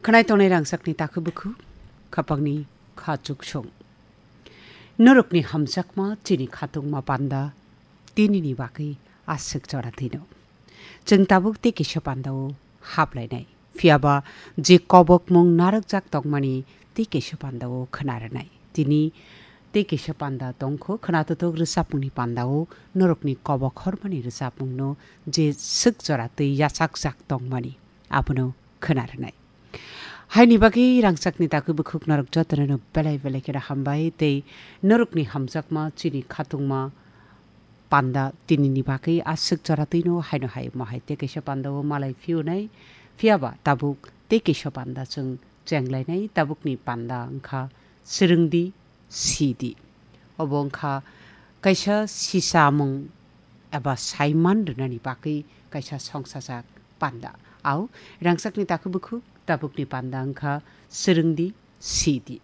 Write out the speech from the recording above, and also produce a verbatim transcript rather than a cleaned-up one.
Khwnai tongnai rangchakni takhu bukhu, khapangni kha chuksong. Norokni hamjakma chini khatungma panda, tinini bagwi aswk jora twino. Chwng tabuk tei kisa pandao haplainai. Phiyaba je kobokmung narwkjak tongmani tei kisa pandao khwna rwnai. Tini tei kisa panda tongkho, khwnatotok rwchapmungni pandao norokni kobok hormani rwchapmungno je swk jora twi yachakjak tongmani, abono khwna rwnai. Haini bagwi rangchakni takwi bukhuk norok jotono no belai belai kheno hambai tei norokni hamjakma chini khatungma panda tinini bagwi aswk jora twino haino hai mohai tei kaisa pandao malai phiyunai, phiyaba tabuk tei kaisa panda chwng chenglainai, tabukni panda wngkha swrwngdi sidi. Obo wngkha kaisa sisamung eba saiman rwnani bagwi kaisa songsajak panda. Au rangchakni takhu bukhuk tabukni panda wngkha swrwngdi sidi.